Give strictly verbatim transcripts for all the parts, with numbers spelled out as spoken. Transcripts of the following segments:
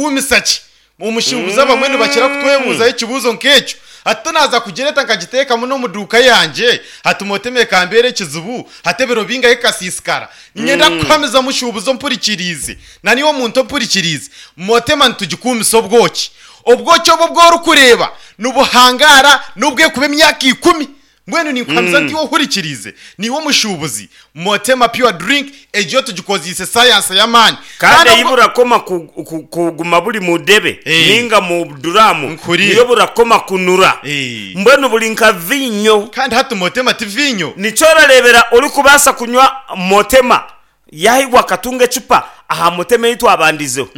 Nitugikuumisa ki? Omushuubuzi abamwe nibakira kutwebuuzaho ekibuuzo nk'ekyo. Hati tonaaza kugireeta nkagiteekamu n'omu duuka yangye, hati Motema ekambeera ekizibu, hati ebiro bingahi ekasiisikara. Niinyenda kukuhamiza mushuubuzi ompurikiriize, na naiwe omuntu ompurikiriize, Motema nitugikuumisa obwoki. Obwoki obu obu orikureeba nibuhangaara n'obu erikuba emyaka ikumi. Mbwenu ninkuhamiza nti iwe ohurikiriize, naiwe omushuubuzi, Motema Pure Drink egyo tugikozeise sayansi y'amaani. Kandi Kandi ei obwo. burakoma ku, ku, kuguma buri mu debe Eh. nainga mu duraamu, Nkuhuriire. niyo burakoma kunura. Eh. Mbwenu buri nka viinyo. Kandi hati Motema ti viinyo. Nikyo orareebera orikubaasa kunywa Motema yaahigwa akatunga ecupa aha Motema ei twabandizeho.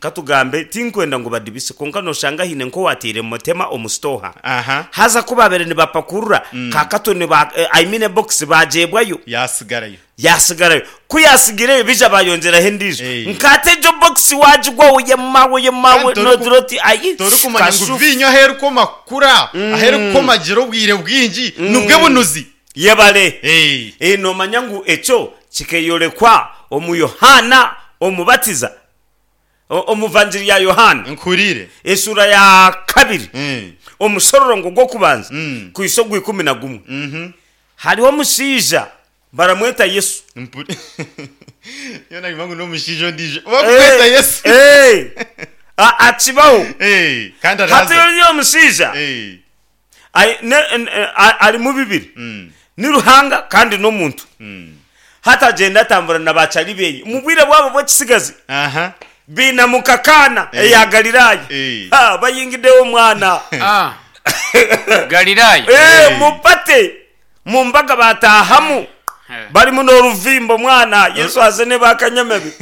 Ka tugambe, tinkwenda ngu badibise, kwonka nooshanga haine nk'owaataire Motema omu sitooha. Aha. Haza ku baabaire nibapakurura, ka katoni ba, I mean ebokisi baagyebwayo. Yaasigarayo. Yaasigarayo. Ku yaatsigireyo, baija baayongyeraho endiijo. Eh. Nka ati egyo bokisi waagigwaho oyema, oyema, Kandi we, toriku- noogira oti ayi, torikumanya ngu kashufu. viinyo ahu erikukoma kukura, ahu erikukoma gira obwire bwingi, nibwo bunuzi. Yebare. Eh. Eh, noomanya ngu ekyo kikeeyorekwa omu Yohaana Omubatiza, o- omu Vangiri ya Yohaana, Nkuhuriire. eshuura ya kabiri, Mm. omushororongo gw'okubanza Mm. kuhitsya ogwa ikumi na gumwe. Mhm. Hariho omushaija baramweta Yesu. Mpuri- Nyowe nagamba ngu n'omushaija ondiijo. Bakukweta Yesu. Eh, a- akibaho. Eh, kandi Hati araza. oriya omushaija Eh. ai- ne- ne- a- arimu bibiri. Mm. Ni Ruhanga kandi n'omuntu. Mm. Hati agyenda atambura na baacari beye. Omu bwire bwabo bw'ekisigazi Aha. bainamuka Kaana Eh. eya Galilaaya. Eh. Ha, bayingideyo omwana. Ah. Galilaaya. Eh, Eh. mupate mu mbaga bataahamu. Eh. Barimu n'oruvimbo mwana Yesu aze bakanyamebe.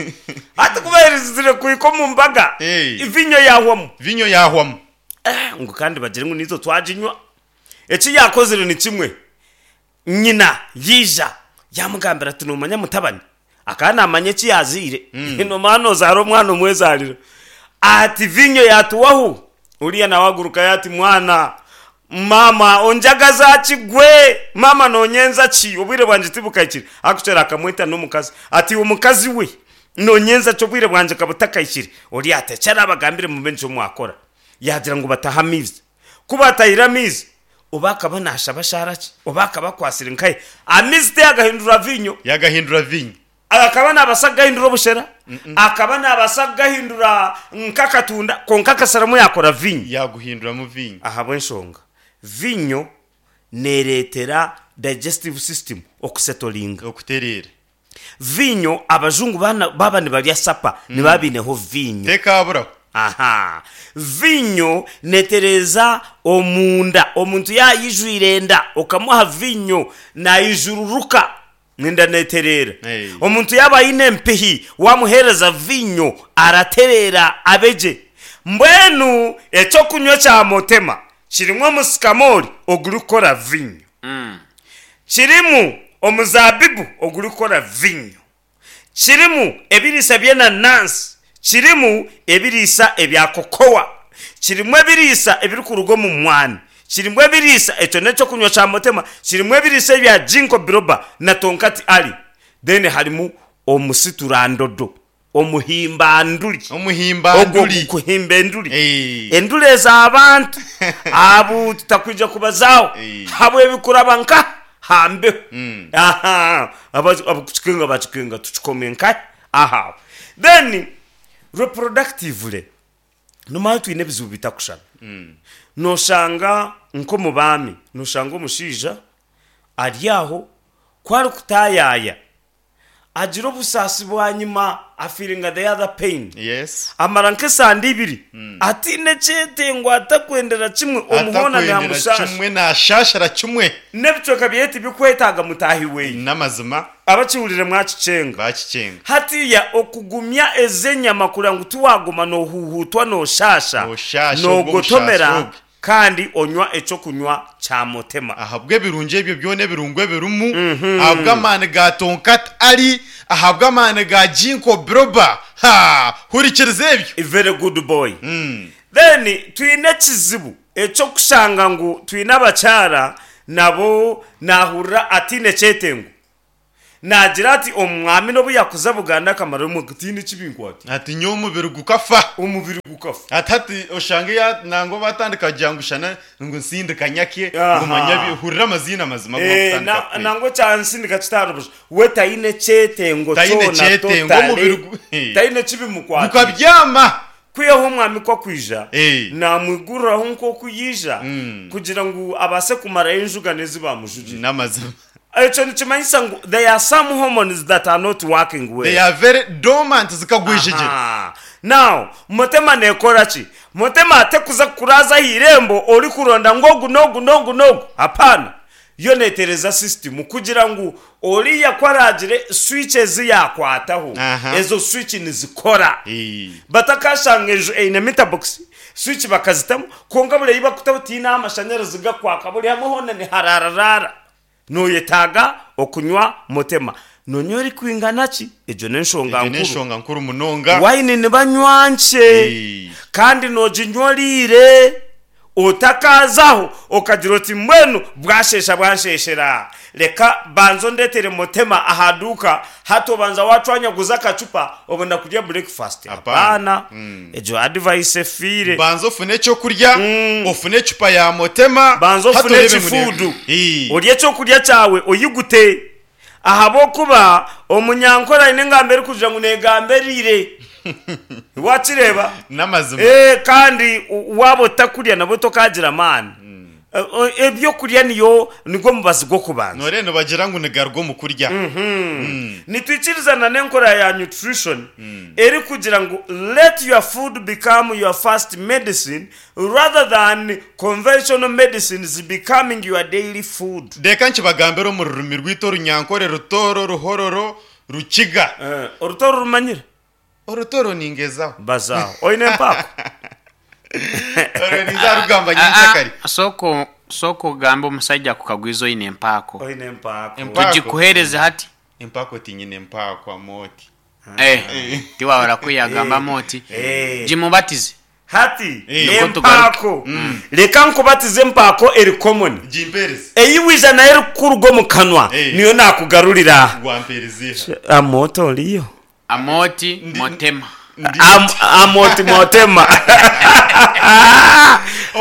Hati ku baherizire kuhika omu mbaga, Eh. viinyo yaahwamu. Viinyo yaahwamu. Eh, ngu kandi bagire ngu naitwe twaginywa. Eki yaakozire ni kimwe. Nyina yaija yaamugambira ati, Noomanya mutabani, akaba naamanya eki yaazaire. Noomanya noozaara omwana omwezaarira. Ati, Viinyo yaatuwaho? Oriya nawe agurukayo ati, Mwana, maama onjagaza ki gwe? Maama noonyenza ki? Obwire bwangye tibukahikire. Akukyera akamweta n'omukazi ati, Iwe mukazi we, noonyenza ki obwire bwangye ka butakahikire? Oriya ati, Eki araabagambire mube nikyo mwakora. Yaagira ngu batahe amaizi. Ku baatahire amaizi, oba akaba naashaba shaara ki, oba akaba akwatsire nkahi, amaizi tiyagahindura viinyo. Yagahindura viinyo. Akaba naabaasa kugahindura obushera, akaba naabaasa kugahindura nk'akatunda, kwonka akasharamu yaakora viinyo. Yaaguhinduramu viinyo. Ahabw'enshonga, viinyo neereetera digestive system okusetoringa. Okutereera. Viinyo, abajungu baaba nibarya sapa nibaba baineho viinyo. Tekaaburaho. Aha. Viinyo neetereeza omunda. Omuntu yaaba aijwire enda, okamuha viinyo naijururuka, enda neetereera. Omuntu yaaba aine empihi, waamuheereza viinyo aratereera abe gye. Mbwenu eky'okunywa kya Motema kirimu omusikamoori ogurikukora viinyo. Kirimu omuzaabibu ogurikukora viinyo. Kirimu ebiriisa by'enanansi. Kirimu ebiriisa ebya kokowa. Kirimu ebiriisa ebirikuruga omu mwani. Kirimu ebiriisa, ekyo n'eky'okunywa kya Motema, kirimu ebiriisa ebya Ginkgo biloba na Tonkati Ali. Then harimu omusiturandodo, omuhimbanduri. Ogwo Omuhimbanduri. ogukuhimba enduri. Eh. Enduri ez'abantu abu tutakwija kubazaaho Eh. habw'ebikuraba nka ha mbeho. Mm. Aha, aba- abakukikenga bakikenga tukikome nkahi ahawe. Then reproductively nomanya twine ebizibu bitakushushana. Noshanga nk'omu baami, noshanga omushaija ari aho ku arikutaayaaya agira obusaasi bwanyima afeelinga the other pain. Yes. Amara nk'esande ibiri ataine kyetengo atakwendera kimwe omu hoona Atakwendera naamushaasha. kimwe naashaashira kimwe. N'ebicweka byeye tibikwetaaga mutaahi weye. N'amazima. Abakihurire mwakikyenga. Baakikyenga. Hatiiya okugumya ez'enyama kureba ngu tiwaaguma noohuuhuutwa nooshaasha, Nooshaasha obwo noogotomera obusaasi obwo. kandi onywa eky'okunywa kya Motema. Ahabw'ebirungi ebyo byona ebirungo ebirimu, ahabw'amaani ga Tonkat Ali, ahabw'amaani ga Ginkgo Biloba. Ha! Hurikiriza ebyo! Very good boy. Then twine ekizibu eky'okushanga ngu twine abakyara nabo naahurira ataine kyetengo. Nagira ati omwami n'obu yakuza Buganda akamara omwaka tihaine ki binkwata. Ati nyowe omubiri gukafa. Omubiri gukafa. Ati hati oshange ya nangwa batandika kugira ngu shana ngu nsindika nyake Aha. ngu manya bi- hurira amaziina mazima agu Eh, bakutandika na- kukweta. nangwa ekyansindika kitari busha we taine kyetengo Taine kyona kyetengo, totally. omubiri gu- Eh. Taine kibimukwatire. Gukabyama. Kwihaho omwami ku akwija Eh. namwiguriraho nk'oku yaija Mm. kugira ngu abaase kumarayo enjugano ezi bamujugire. N'amazima. Ekyo nikimanyisa ngu there are some hormones that are not working well. They are very dormant, zikagwejegyera. Aha. Now, Motema nekora ki? Motema tekuza kukuraza aha irembo orikuronda ngu ogu n'ogu n'ogu n'ogu. Hapana. Yo neetereza system kugira ngu oriya ku araagire switch ezi yaakwataho, Aha. ezo switch nizikora. Eh. Batakashanga enju eine meter box, switch bakazitamu, kwonka buri ei bakutaho tihaine ahu amashanyarazi gakwaka, buri hamwe hoona niharararaara. Nooyetaaga okunywa Motema. Noonywa erikwingana ki? Egyo n'enshonga Egyo nkuru. n'enshonga nkuru munonga. Wayini nibanywa nkye Eh. kandi nooginywa oriire otakaazaho okagira oti mbwenu bwasheesha bwansheshera reka banza ondeetere Motema aha duuka hati obanza wacwanyaguza akacupa obona kurya breakfast. Hapana. Hapana. Egyo advice efiire. Banza ofune ekyokurya, ofune ecupa ya Motema, Banza hati ofune orebe ngu ne- ekifuudu. Eh. Orye ekyokurya kyawe oyigute ahabw'okuba omunyankore aine engamba erikugira ngu negamba eriire. Wakireeba? N'amazima. Eh, kandi u- waaba otakurya nabwo tokagira amaani. Eh, eh, ebyokurya niyo nigwo mubazi gw'okubanza. Noreeba nibagira ngu nigaruga omu kurya. Nitwikirizana n'enkora ya nutrition erikugira ngu let your food become your first medicine rather than conventional medicines becoming your daily food. Reka nkibagambire omu rurimi rwaitu orunyankore, Rutooro, Ruhororo, Rukiga. Eh, Orutooro rumanyire? Orutooro ningezaho. Bazaaho oine empaako. Orwo ninza rugamba nyenkyakare. Sooka sooka ogambe omusajja akukagwiza oine empaako. Oine empaako. Empaako. Tugikuheereze hati. Empaako tinyine empaako, Amooti. Eh, tiwahora kwiyagambamu oti Eh. gimubatize. Hati Eh. Nukwo empaako, reka nkubatize empaako eri common Gimpereze. eyi wija nayo erikukuruga omu kanwa Eh. niyo nakugarurira. Gwampereze. Amoto oriyo. Amoti Motema. Am- amoti Motema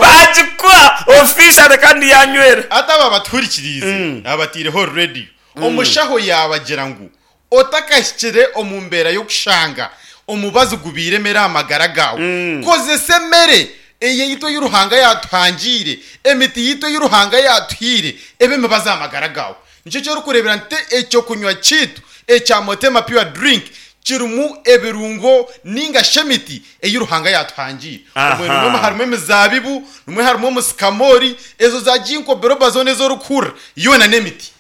bagikuha official kandi yanywera. Ati aba batuhurikiriize abataireho radiyo, omushaho yabagira ngu otakahikire omu mbeera y'okushanga omubazi gubiire emere aha magara gaawe, kozesa emere eyaitu ei Ruhanga yatuhangiire, emiti yitu ei Ruhanga yatuhaire ebe emibazi aha magara gaawe. Nikyo ky'orikureebera nti ekyokunywa kiitu ekya Motema Pure Drink kirimu ebirungo ninga shi emiti ei Ruhanga yatuhangiire. Aha. Obwe nimwe harimu emizabibu, nimwe harimu omusikamori, ezo za ginkgo biloba zoona ez'orikuhurira yoona n'emiti.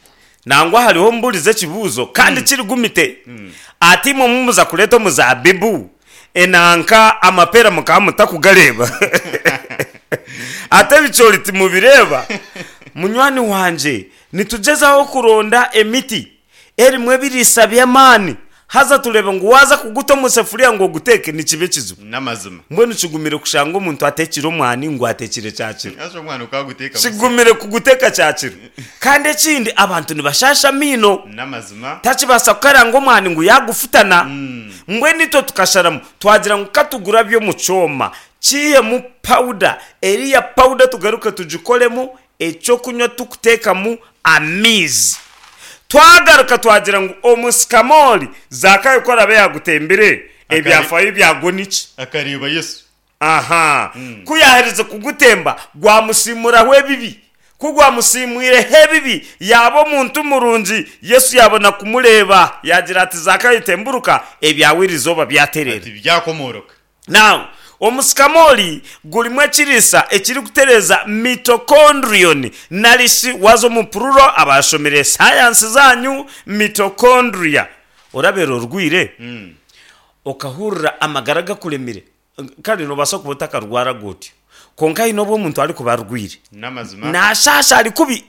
Nangwa hariho mburize ekibuuzo kandi kirigumite ati imwe mumuza kureeta omuzabibu enanka amapera mukaba mutakugareeba ate ebicoori timubireeba. Munywani wangye, nitugyezaho kuronda emiti erimu ebiriisa by'amaani haza turebe ngu waza kuguta omu sefuriya ngu oguteeke nikiba ekizibu. N'amazima. Mbwenu kigumire kushanga omuntu ateekire omwani ngu ateekire kyakiro. Ase omwana okaguteeka busa. Kigumire kuguteeka kyakiro kandi ekindi abantu nibashasha amaino. N'amazima. Takibaasa kukaranga omwani ngu yagufutana. Mbwenu itwe tukasharamu twagira ngu katugura by'omu kyoma kiihemu powder eriya powder tugaruke tugikoremu ekyokunywa tukuteekamu amaizi. Twagaruka twagira ngu omusikamori Zakayo ku arabe yagutembire ebyafayo byagwo niki? Akareeba Yesu. Aha, ku yaaherize kugutemba gwamusiimuraho ebibi, ku gwamusiimwireho ebibi yaaba omuntu murungi. Yesu yabona kumureeba yagira ati Zakayo temburuka ebyawe erizooba byaterera. Ati byakomoroka. Now omusikamori gurimu ekiriisa ekirikutereza mitochondrion narishi waza omu pururo abashomire sayansi zanyu mitochondria orabeera orwire okahurira amagara gakuremire kandi nobaasa kuba otakarwara gutyo konka haine obu omuntu arikuba arwire N'amazima. nashasha ari kubi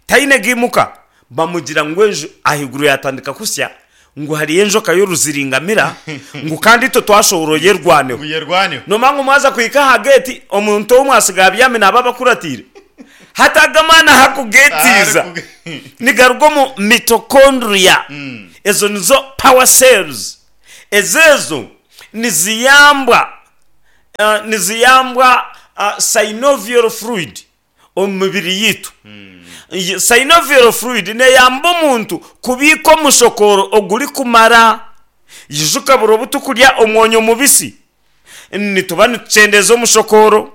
taine gimuka bamugira ngu enju ahaiguru yatandika kusya ngu hariyo enjoka y'oruziringamira ngu kandi itwe twashohora yerwaneho. Buyerwaneho. Nomanya ngu mwaza kuhika aha gate omuntu omwe asigaye abyami naba abakuratiire. Hati aga amaani ahakugetiiza nigaruga omu mitochondria. Ezo nizo power cells. Ezo ezo niziyambwa niziyambwa synovial fluid omu mibiri yaitu. Synovial fluid neyamba omuntu kubiika omushokooro ogurikumara. Ijuka buri obu turikurya omwonyo mubisi, nituba nitukyendeeza omushokooro.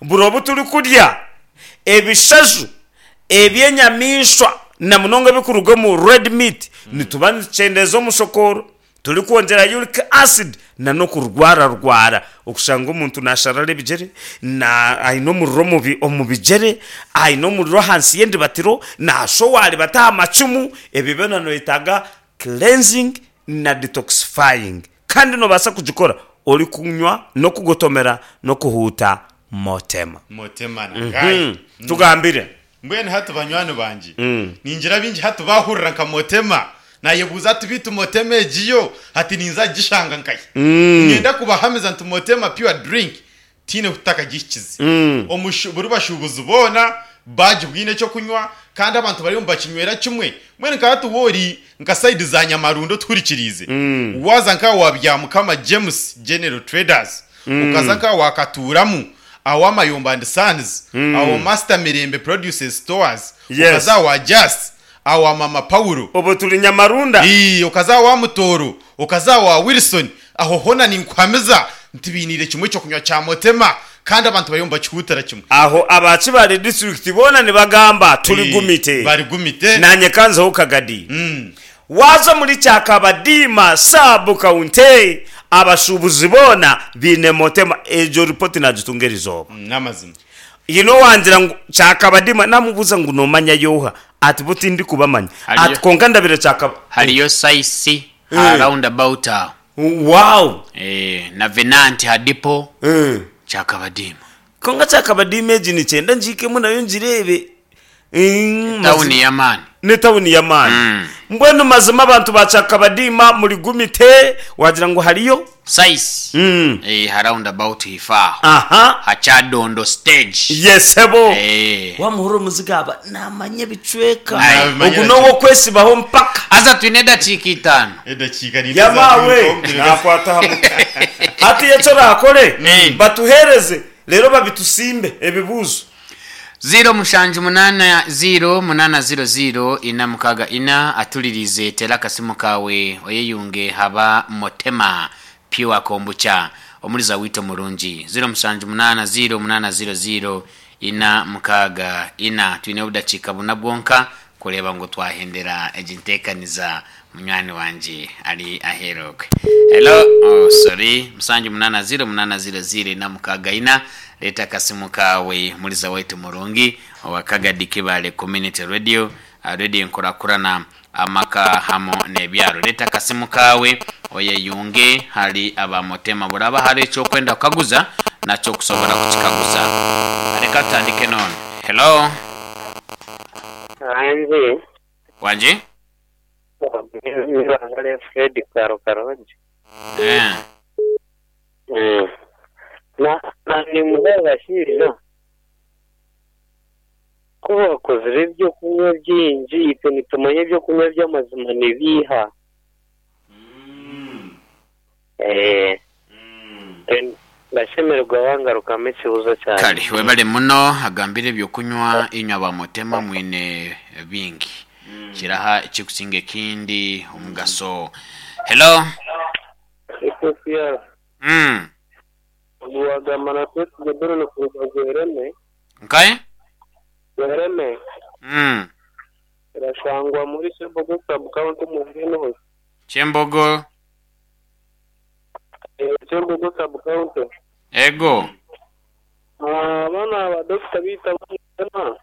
Buri obu turikurya ebishaju eby'enyamaishwa na munonga ebirikuruga omu red meat, nituba nitukyendeeza omushokooro, turikwongyera uric acid nan'okurwararwara. Okushanga omuntu naasharara ebigyere, na aine omuriro omu omu bigyere, aine omuriro ahansi y'endibatiro, naashoha aribata aha macumu, ebyo byona noyetaaga cleansing na detoxifying. Kandi noobaasa kugikora orikunywa n'okugotomera n'okuhuuta Motema. Motema na Guy. Tugambire. Mbwenu hati banywani bangye, ningira baingi hati baahurira nka Motema, naayebuuza ati beitu Motema egi yo hati ninza kugishanga nkahi? Niinyenda kubahamiza nti Motema Pure Drink tihaine ahu tutakagihikize. Omu buri bashuubuzi boona baagibwine eky'okunywa kandi abantu bariyo nibakinywera kimwe. Mbwenu nka hati waaba ori nka sayidi za Nyamarundo otuhurikiriize, waaza nka awa Byamukama James General Traders, okaza nka awa Katuuramu, awa Mayombo and Sons, awa Master Mirembe Produces Stores, Yes. okaza awa Jas, awa Mama Paulo, Obwo turi Nyamarunda. Ii, okaza awa Mutooro, okaza awa Wilson, aho hoona ninkuhamiza nti bainiire kimwe eky'okunywa kya Motema kandi abantu bariyo nibakihuutira kimwe. Aho aba Kibaale disiturikiti boona nibagamba turi Ii, gumite. bari gumite. Naanye kanzeho kagadi. Mm. Waaza omuri Kyakabadiima sub county abashuubuzi boona baine Motema. Egyo ripooti naagitunga erizooba. Mm, n'amazima. Haine owangira ngu Kyakabadiima naamubuuza ngu noomanya yooha? Ati bo tindikubamanya. Hariyo Ati kwonka ndabire Kyakaba. hariyo Saisi ha Eh. round about aho. Wow! Eh, na Venanti ha depot Eh. Kyakabadiima. Kwonka Kyakabadiima egi nikyenda ngihikemu nayo ngireebe. Mm, Tawuni mazima. y'amaani. N'etawuni y'amaani. Mm. Mbwenu mazima abantu ba Kyakabadiima muri gumite, wagira ngu hariyo? Saisi Mm. eh, ha round about haife aho. Aha. Ha Kyadondo stage. Yesebo. Eh. Wamuhurira omuziga aba naamanya ebicweka. Aye. Ogu Nabimanyira kimwe. n'ow'okwesibaho mpaka. Haza twine edakiika itaano. Edakiika niinga Yamaawe zaatwirukaho. naakwata aha mutwe. Hati eki oraakore, Mm. batuheereze reero babitusimbe ebibuuzo. Ziiro mushanju munaana ziiro munaana ziiro ziiro ina mukaaga ina atuririize teera akasimu kaawe oyeyunge haba Motema Pure Kombucha omuriza waitu omurungi ziiro mushanju munaana ziiro munaana ziiro ziiro ina mukaaga ina twine obudakiika buna bwonka kureeba ngu twahendera egi nteekaniza munywani wangye ari aheeru okwe hello oh sorry musanju munaana ziiro munaana ziiro ziiro ina mukaaga ina Reeta akasimu kaawe muriza waitu murungi owa Kagadi Kibale Community Radio, Radio enkurakurana amaka hamu n'ebyaro. Reeta akasimu kaawe oyeyunge hali aba Motema buraba hariho ekyokwenda kukaguza nakyo okusobora kukikaguza. Reka tutandike n'onu. Hello. Wangi. Wangi? Nibangale Fred Karo Karongi. Eh. Mm. Na na nimuha abashaija ku bakozire ebyokunywa bingi itwe nitumanya ebyokunywa by'amazima nibiiha. Eh. Ndashemererwa wangarukamu ekibuuzo kyangye. Kale webale muno agambire ebyokunywa inywe aba Motema mwine bingi kiraha ekikusinga ekindi omugaso. Hello. Ethiopia. Mm. Wagamba na Twesigye Benon kuruga Bwereme. Nkahe? Bwereme. Mm. Erashangwa muri Kyembogo sub county omu Bwinozi. Kyembogo. Eh, Kyembogo sub county. Ego. Ah, bana aba dokita baitu abamutema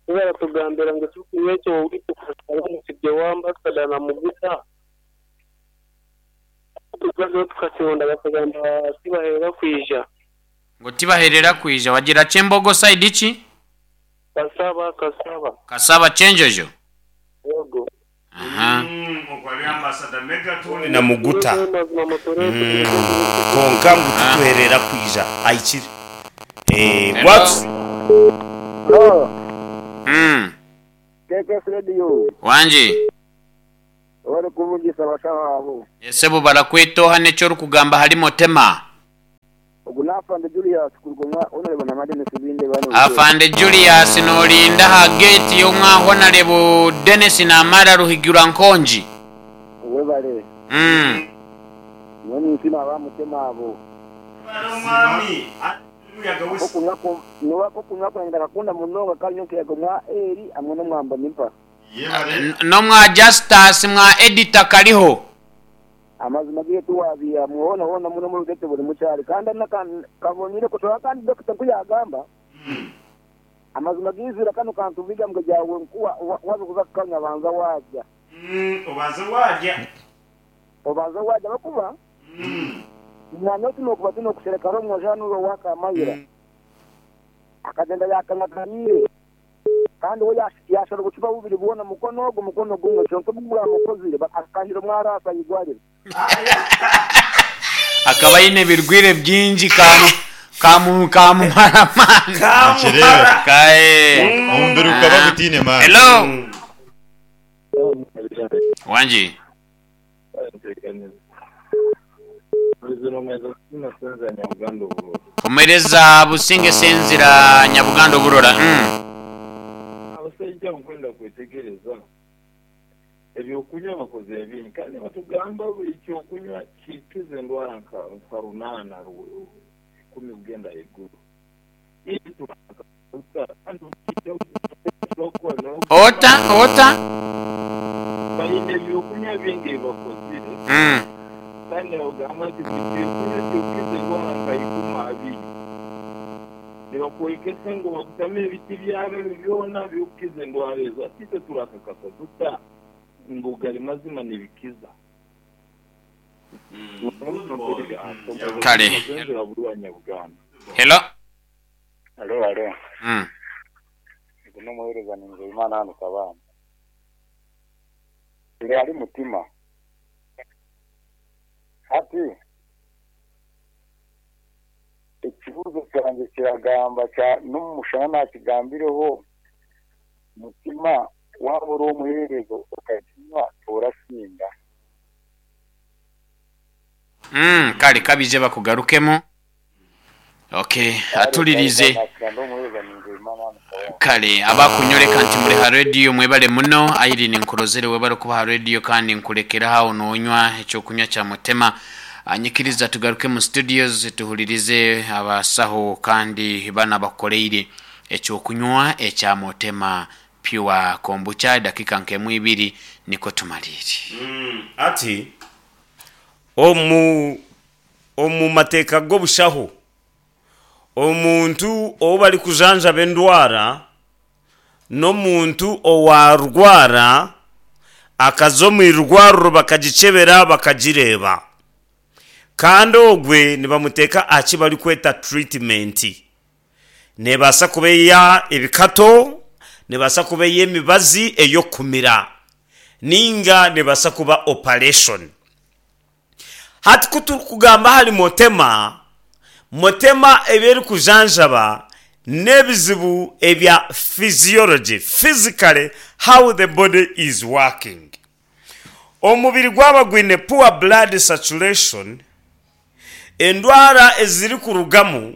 tibaratugambira ngu ekyokunywa ekyo waitu kushaba omusibye wa ambasada na muguta. Tukaza tukakihonda bakagamba tibaherera kwija. Ngu tibaherera kwija wagira Kyembogo side ki? Kasaba, Kasaba. Kasaba Kyenjojo. Yego. Aha. Na muguta. Kwonka ngu tituherera kwija ahikire. Eh, Hello. what? Mm. K K S Radio. Wangi. Wari kuvugisa abashaho. Esebo, barakwetoha n'ekyo orikugamba hari Motema. Ogu nafande Julius kurugomwa honorable na Madene Sibinde bano. Afande Julius, nolinda ha gate y'omwa Honorable Dennis Namara Ruhigura Nkongi. Webale. Mm. Mwene nsima abamutema abo. Okunywa ko nuwako kunywa kwenda kakunda munonga kanyo kiyago mwa eri amwe no mwamba nimpa. Yebare. Nomwa Justus mwa editor kariho. Amazima giye tuwabia muona hona muno mu rugete buri mucyari kandi kabonire ko kandi doctor kuyagamba. Amazima gizira kano kantu biga mbwe jawe nkuwa wabukuza kanya banza wajya. Mm, obanza wajya. Obanza wajya bakuba. Nano tuno kuba tuno kusereka romwo janu waka mayira. Akagenda yakangakaniye. Kandi we yashobora gucupa bubiri bubona mukono ogwo mukono gumwe kyonka bugura mukozire akahiro mwarasa yigwarire. Akaba yine birwire byingi kamu kamu kamumara mani. Kamumara. Kae. Omubiri gukaba gutiine maani. Hello. Wangi. Omereza Businge Senzira Nyabuganda Oburora. Mm. Abasajja nkwenda kwetegereza ebyokunywa bakoze ebingi kandi batugamba buli kyokunywa kikiza endwara nka nka runaana ru- ikumi kugenda haiguru. Ota ota. Balina ebyokunywa bingi ebibakozire Mm. kandi bagamba nti buli kyokunywa kyokiza endwara nka ikumi abiri nibakwekesa ngu bakutama ebiti byabo ebyo byona byokukiza endwara ezo. Ati itwe turakakasa tuta ngu gari mazima nibikiza? Kale. Buganda. Hello. Alo, alo. Mm. Ndi n'umuhereza ni Nzeyimana hano Kabanda. Ndi hari mutima. Ati ikibuzo cyanjye kiragamba cya n'umushana nakigambireho mutima waba uri umuherezo ukakinywa urasinda. Mm, kale kabije bakugarukemo. Okay, atulirize. Ndi umuhereza ni Nzeyimana hano Kabanda. Kale abakunyoreka nti muri ha radio mwebale muno. Irene nkurozere, webale kuba ha radio kandi nkulekera hawo nonywa ekyokunywa kya Mutema. Anyikiriza tugaruke mu studios tuhulirize abasaho kandi bana bakoleire ekyokunywa ekya Mutema Pure Kombucha. Dakika nkemu ibiri niko tumalire. Mm, ati omu omu mateeka g'obushaho omuntu ou bari kujanjaba endwara n'omuntu owarwara akaza omu irwariro bakagikyebera bakagireeba kandi ogwe nibamuteeka aha ki barikweta treatment. Nebaasa kuba eya ebikato, nebaasa kuba ey'emibazi ey'okumira, ninga nebaasa kuba operation. Hati ku turikugamba hari Motema, Motema ebyerikujanjaba n'ebizibu ebya physiology, physically how the body is working. Omubiri gwaba gwine poor blood saturation, endwara ezirikurugamu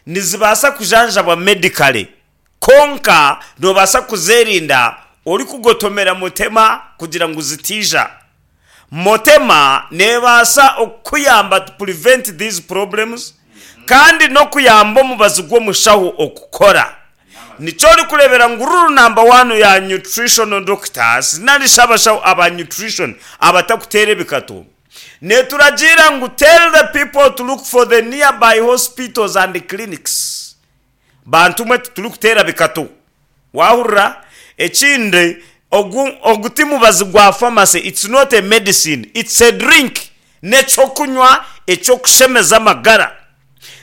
nizibaasa kujanjabwa medically, konka nobaasa kuzerinda orikugotomera Mutema kugira ngu zitija. Motema nebaasa okuyamba to prevent these problems kandi n'okuyamba omubazi gw'omushaho okukora. Nikyo orikureebera ngu rule number one ya nutritional doctors narishi abashaho aba nutrition abatakuteera ebikato neturagira ngu tell the people to look for the nearby hospitals and clinics. Bantu mwe, tituri kuteera bikato, wahurira? Ekindi, ogu ogu ti mubazi gwa pharmacy. It's not a medicine, it's a drink, n'ekyokunywa ekyokushemeza amagara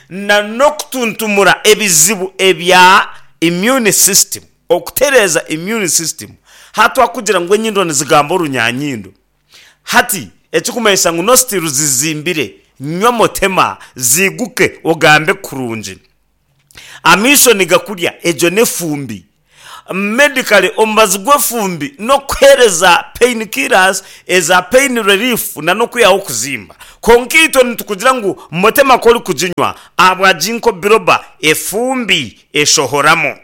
na n'okutuntumura ebizibu ebya immune system, okutereeza immune system. Hati wakugira ngu enyindo nizigamba orunyanyindo, hati ekikumanyisa ngu nostrils zizimbire, nywa Motema ziguke ogambe kurungi. Amiisho nigakurya egyo n'efumbi. Medically omubazi gw'efumbi n'okuheereza pain killers eza pain relief na n'okwihaho okuzimba. Kwonka itwe nitukugira ngu motema ku orikuginywa ahabwa ginkgo biloba efumbi eshohoramu.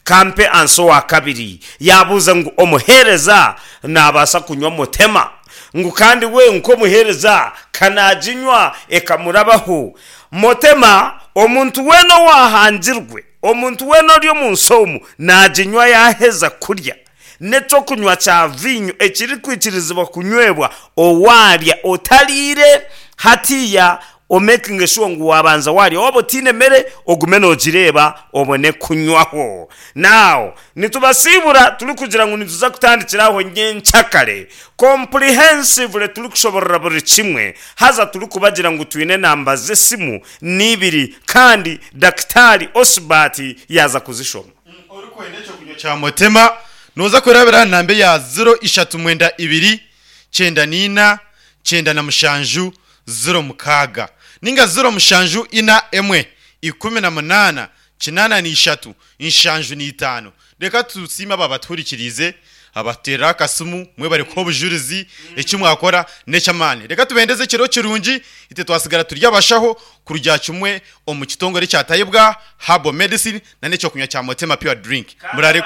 Kampe ansa owa kabiri yaabuuza ngu omuheereza naabaasa kunywa motema? Ngu kandi we nk'omuheereza ka naaginywa ekamurabaho? Motema omuntu weena owaahangirwe, omuntu weena ori omu nsi omu naaginywa yaaheza kurya. N'eky'okunywa kya viinyo ekirikwikirizibwa kunywebwa owaarya otariire hatiiya omekinge shuwa ngu waabanza waarya. Waaba otaine mere ogume noogireeba obone kunywaho. Now nitubasiibura turikugira ngu nituza kutandikira aho nyenkyakare comprehensively turikushoborora buri kimwe haza turikubagira ngu twine enamba z'esimu n'ibiri kandi Dakitaari Osbert yaaza kuzishoma. Orikwenda ekyokunywa kya Motema nooza kurabira aha namba eya ziro ishatu mwenda ibiri kyenda n'ina kyenda na mushanju ziro mukaaga ninga ziro mushanju ina emwe ikumi na munaana kinaana na ishatu nshanju na itaano. Reka tusiime abo abatuhurikiriize, abatuteerera akasimu, mwebare kuha obujurizi, eki mwakora n'eky'amaani. Reka tubendeze ekiro kirungi, itwe twasigara turi abashaho kurugira kimwe omu kitongore ekya Tayebwa Herbal Medicine na n'ekyokunywa kya Motema Pure Drink. Muraare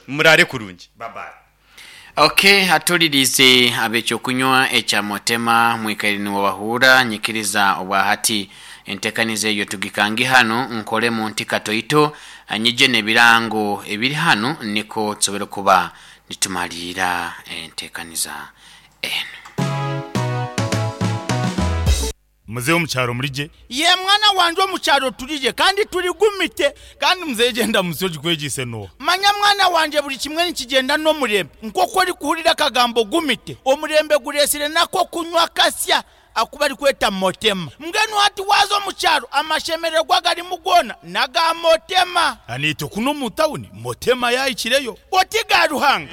muraare kurungi. Bye bye. Ok, atulirize ab'ekyokunywa ekya Motema mwikaire nimubahuura nyikiriza obwahati entekaniza eyo tugikange hanu nkoremu nti katoito nyije n'ebirango ebiri hanu niko tusobole kuba nitumaliira entekaniza enu. Muzehe omukyaro murigye? Ye mwana wangye omukyaro turigye kandi turigumite. Kandi muzehe gyenda munsi ogikwegyise n'oha? Manya mwana wangye buri kimwe nikigyenda n'omurembe. Nk'oku orikuhurira akagambo gumite, omurembe gureetsire n'ak'okunywa kasya aku barikweta Motema. Mbwenu hati waaza omu kyaro amashemererwa agarimu goona n'aga Motema. Naitwe kunu omu tawuni Motema yaahikireyo. Oti ga Ruhanga!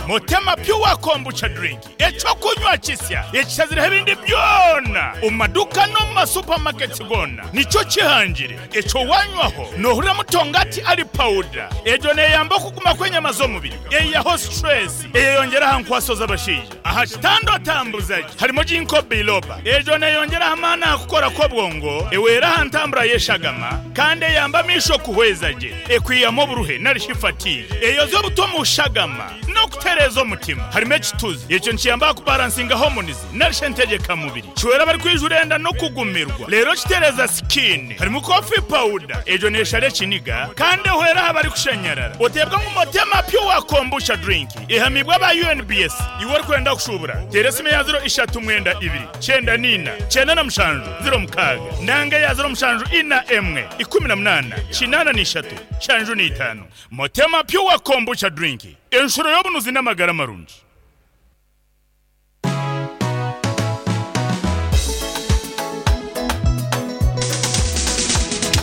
Motema Pure Kombucha Drink, eky'okunywa kisya ekishazireho ebindi byona omu maduuka n'omu masupamaketi goona nikyo kihangire. Ekyo wanywaho noohurira mutongati ari pawuda. Egyo neeyamba okuguma kw'enyama z'omubiri, eihaho situresi, eyeyongyera aha nkwaso z'abashaija. Aha kitanda otambuza gye harimu ginkgo biloba. Egyo neeyongyera aha maani aha kukora kw'obwongo, ehwera aha ntambura y'eshagama kandi eyamba amaisho kuhweza gye, ekwihamu oburuhe nari shi fatigue, eyozya obutwa omu shagama n'okutereeza omutima. Harimu ekituzi, ekyo nikiyamba aha kubaransinga hormones nari shi entegyekamubiri. Kihwera abarikwijura enda n'okugumirwa reero kitereeza sikiini. Harimu coffee powder, egyo neeshara ekiniga kandi ehwera aha barikushanyarara. Oteebwa ngu Motema Pure Kombucha Drink ehamiibwe aba U N B S. Iwe orikwenda kushuubura, teera esimu eya ziro ishatu mwenda ibiri, kyenda n'ina, kyenda na mushanju, ziro mukaaga nanga eya ziro mushanju ina emwe, ikumi na munaana, kinaana na ishatu, nshanju na itaano. Motema Pure Kombucha Drink, enshuro y'obunuzi n'amagara marungi.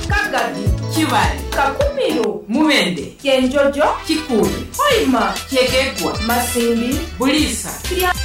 Kagadi, Kibale, Kakumiro, Mubende, Kyenjojo, Kikuube, Hoima, Kyegegwa, Masindi, Buliisa, Kirya.